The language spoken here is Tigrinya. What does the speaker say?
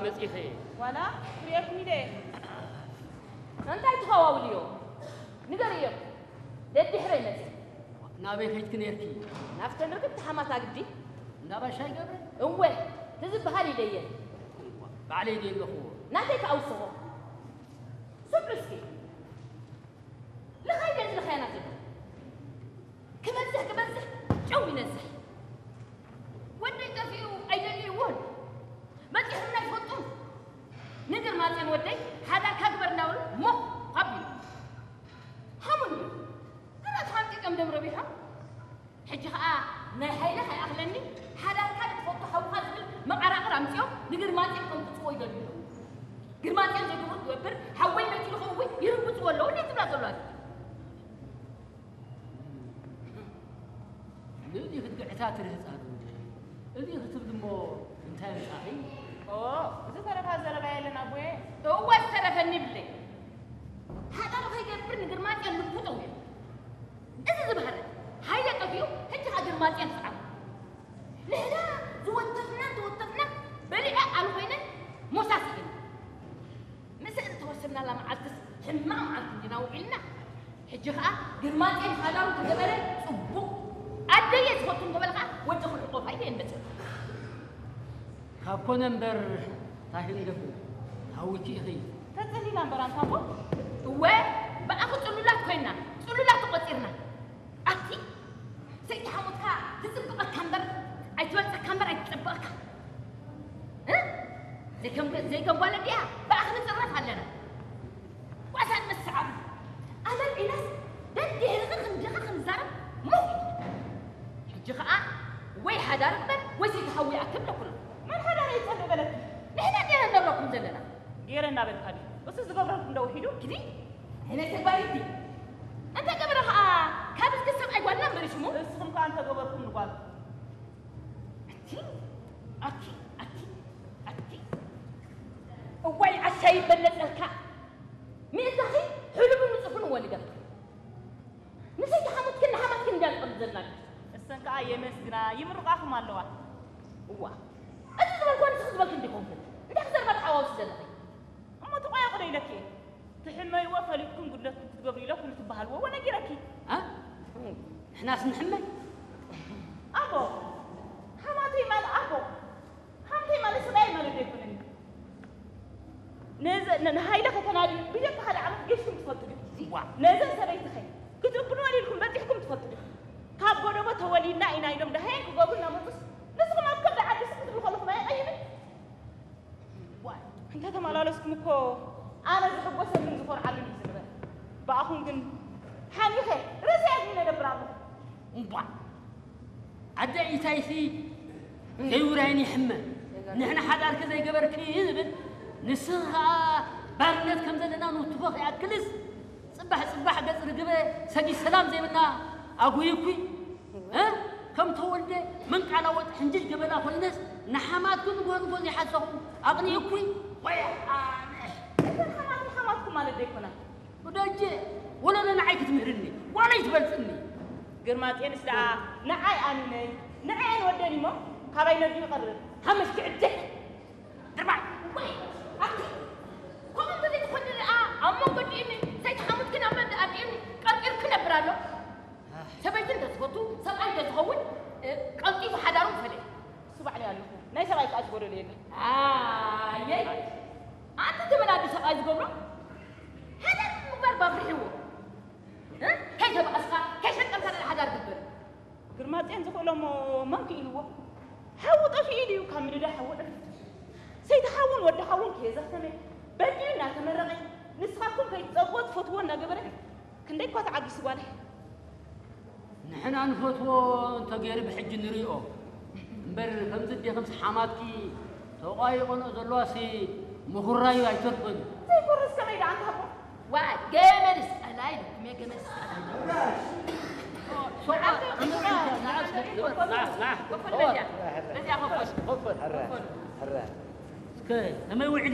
መጺኺ። ዋላ ክርእየኩም ኢለ እየ። እንታይ ትኸዋውልዮ? ንገርዮ። ደድሕረይ መጺ። ናበይ ከይድኪ ነርኪ? ናብተን ርክብቲ ሓማት ኣግዲ። እንዳ ባሻይ ገብረ? እወ፣ ትዝበሃል ኢለየን። ባዕለይ ድየ ኣለኹዎ? ናተይ ከኣ ውስኾ። ስምዑ እስኪ። ልኻይ ገጽ ልኻያና ዘሎ። ክበዝሕ ክበዝሕ ጨው ይነዝሕ። ወደይ ጠፊኡ ኣይደልይዎን። በጺሑና ኣይፈልጡን። ንግርማጽዮን ወደይ ሓዳርካ ግበር እናበሉ ሞኽ ካብ ኢሉ። ሃሙኒ ግራት ሓንጢጦም ደም ረቢሖም። ሕጂ ኸኣ ናይ ሃይለ ከይኣኽለኒ ሓዳርካ ንትፈቱ ሓውኻ ዝብል መቐራቕር ኣምጺኦም ንግርማጽዮን ከምጽዎ ይደልዩ ኣለዉ። ግርማጽዮን ዘይገብሩ ክገብር ሓወይ መይቱ ዝኸውን ይርግጽዎ ኣለዉ እንዴት ትብላ ዘለዋ። ንእዚ ክትግዕታ ትርህጻ ዶ እንዴ? እዚ ክትብል እሞ እንታይ ኣምጻኺ? ኦ፣ ዝተረፋ ዘረባ የለን ኣቦየ። እወ ዝተረፈኒ ይብለይ። ሓዳሩ ከይገብር ንግርማጽዮን ልቡ ጠውዩ። እዚ ዝበሃረ ሃይለ ጠፊኡ ሕጂ ኸኣ ግርማጽዮን ዝዓቡ። ንሕና ዝወተፍና እንተወተፍና በሊዐ ኣነ ኮይነ ሞሳስ ኢልና። ምስእን እተወሰናላ መዓልትስ ሕማቕ መዓልቲ እንዲና ውዒልና። ሕጂ ኸኣ ግርማጤን ሓዳሩ ተገበረ ጽቡቕ። ኣደየ ዝፈቱ እንተበለ ኸኣ ወዲ ክልቆፋ ኢለ እየ መጽእ። ካብ ኮነ እምበር እንታይ ክንገብር? ሃዊኪ ኢኺ። ተጸሊና እምበር ኣንታ እሞ። እወ ብኣኺ ጽሉላት ኮይንና፣ ጽሉላት ተቖጺርና። ኣቲ ሰይቲ ሓሞትካ ትጽብቐካ እምበር ኣይትበልጸካ እምበር ኣይትጸብቐካ። እ? ዘይከም ዘይከም ጓል እንዲያ ብኣኺ ንጽረፍ ኣለና። ጓሳ ንምስዓብ ኣመል ኢላስ ደድሕርኺ ክንድኺ ክንዛረብ ሞኽ ኢሉ። ሕጂ ኸኣ ወይ ሓዳር እምበር ወይ ሰይቲ ሓዊ ይኣክል ለኩሉ። መን ሓዳር ይጸልእ በለኪ? ንሕና እንዲና ንነብረኩም ዘለና። ገይረ እናበልካ ድዩ? እሱ ዝገብረልኩም ዶ ውሒዱ? ግዲ ኣይነ ተግባር ይዲ እንተ ገበረ ኸኣ ካብ እስኪ ሰብኣይ ጓልና እምበር ሽሙ። እስኹም ከኣ እንተ ገበርኩም ንጓል። ኣቲ ኣቲ ኣቲ ኣቲ እዋይ ዓሻ ይበለጸልካ። ምእንታኺ ሕሉፍን ንጹፍን እወ ንገርካ። ንሰይቲ ሓሙትክን ንሓማትክን እንድያ ዝቐርብ ዘለና። እሰን ከኣ የመስግና ይምርቓኹም ኣለዋ። እዋ እዚ ዝበልክዋ ንስኺ ዝበልኪ እንዲኾንክን እንታይ ክዘርባ ተሓዋውሲ ዘለኺ? እሞ ተቋየቑ ዶ ኢለኪ እየ። ትሕመይዎ ፈሊጥኩም ጉድለትኩም ክትገብሩ ኢለኩም ትበሃልዎ እወ ነጊረኪ። ኣ? ንሕናስ ንሕመይ? ኣቦ ሓማተይ ማለት ኣቦ ሓምተይ ማለት ሰብኣይ ማለት ዶ ኣይኮነን እዩ። ነዚ ንሃይለ ከተናድዩ ብጀካ ሓደ ዓመት ገሽኩም ትፈልጡ ዲኹም? ነዘን ሰበይትኸ ክትእብንወን ኢልኩም በጺሕኩም ትፈልጡ ዲኹም? ካብ ጎደቦ ተወሊድና ኢና ኢሎም ደሃየን ክገብሩ እናመጹስ ንስኹም ኣብ ከብዲ ዓዲ ስቕ ክትብሉ ከለኹም ኣየቐይምን? እንተተመላለስኩም እኮ ኣነ ዝሕጎሰሉን ዝኾርዓሉን እዩ ዝንበር። ብኣኹም ግን ሓሚኸ ርእሰይ ኣድኒነ እነብር ኣለኹ። እምቧ ኣደ ኢታይሲ ዘይውራይን ይሕመ ንሕና ሓዳርኪ ዘይገበርኪ ዝብል ንስኺ ኸኣ ባርነት ከም ዘለና ንውትፎ ከይኣክልስ ጽባሕ ጽባሕ ገጽ ርግበ ሰጊድ ሰላም ዘይብልና ኣጉይኩይ እ ከም ተወልደ መንቃላወጥ ሕንጅል ገበላ ኮይነስ ንሓማትኩ ንጎ ንጎ ዘይሓሰኹ ኣቕኒእኩይ ወይ ኣነ እተን ሓማት ሓማትኩም ማለት ዶ ኣይኮና? ወዳጀ ወለሎ ንዓይ ክትምህርኒ ዋላ ይትበልጽኒ። ግርማጼንስ ደኣ ንዓይ ኣሚነይ ንዐአን ወደን እሞ ካባይ ነዱ ይቐርብ። ሃመሽ ክዕድሕ ድርባይ ወይ ኣቲ ከምኡ እንተዘይትኾኒ ደኣ ኣብ መንጎ ዲእኒ ዘይተሓሙትክን ኣብ መንደኣ ዲእኒ ቀርቂርኪ ነብር ኣሎ። ሰበይቲ እንተዝፈቱ ሰብኣይ እንተዝኸውን ቀልጢፉ ሓዳሩ ምፈለየ። እሱ ባዕለይ ኣለኹ። ናይ ሰብኣይ ከኣ ዝጎደሎ የለን። ኣየይ ኣንቲ ተመላዲ ሰብኣይ ዝገብሮ ሓዳር ምግባር ባፍርሕዎ። ከይተባእስካ ከይሸቀልካ ደኣ ሓዳር ግበር። ግርማጽዮን ዝኽእሎ እሞ መን ክኢልዎ? ሓዉ ጠፊኡ ድዩ ካብ ምድዳ ሓዊ ዕርፍ? ሰይቲ ሓውን ወዲ ሓውን ከየዘኽተመ በዲኡ እናተመረቐ ንስኻትኩም ከይትጸብዎ ትፈትዎ እናገበረ ክንደይ እኳ ተዓጊሱ ጓለይ። ንሕና ንፈትዎ እንተገይሩ ብሕጂ ንሪኦ እምበር ከምዚ ኣዴኺ ምስ ሓማትኪ ተቋይቖንኦ ዘለዋሲ ምኹራዩ ኣይተርፍን። ዘይኮርስ ከመይ ደኣ እንተሃቦ ዋይ ገመድስ ቀላይ ኢልኩም እየ ገመድስ ቀላይ እስከ ከመይ ውዒሉ